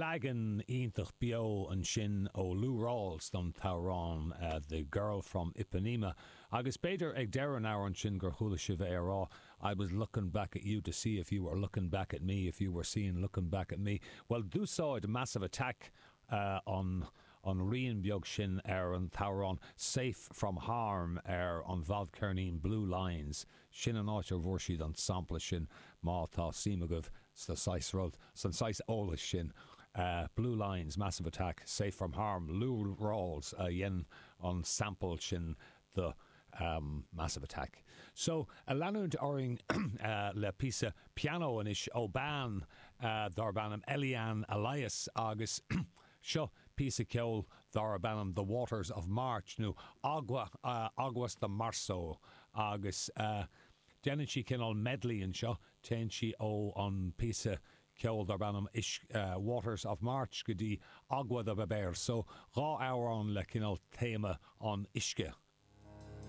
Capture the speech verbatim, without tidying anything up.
Leagan iontach beo ansin ó Lou Rawls don t-amhrán uh, The Girl from Ipanema. Agus b'fhéidir ag deireadh an amhráin sin gur chuala sibh é ag rá, I was looking back at you to see if you were looking back at me, if you were seeing looking back at me. Well d'úsáid Massive Attack uh, an an rian beag sin ar an t-amhrán Safe from Harm ar an bhfadcheirnín Blue Lines sin an áit a bhfuair siad an sampla sin má tá suim agaibh sa saghas rud san saghas eolais sin. Uh, Blue Lines, Massive Attack, Safe from Harm, Lou Rawls a uh, dhein an sample sin the um, Massive Attack. So a leanúint orainn uh, le píosa piano anois ó bean uh, darb ainm Eliane Elias agus seo píosa ceoil darb ainm The Waters of March nó Agua uh, Aguas de Marzo agus uh, déanann sí cineál medley anseo téann sí ó an píosa ceoil darb ainm is uh, Waters of March go dtí Agua de Beber, so dhá amhrán le cineál téama an uisce.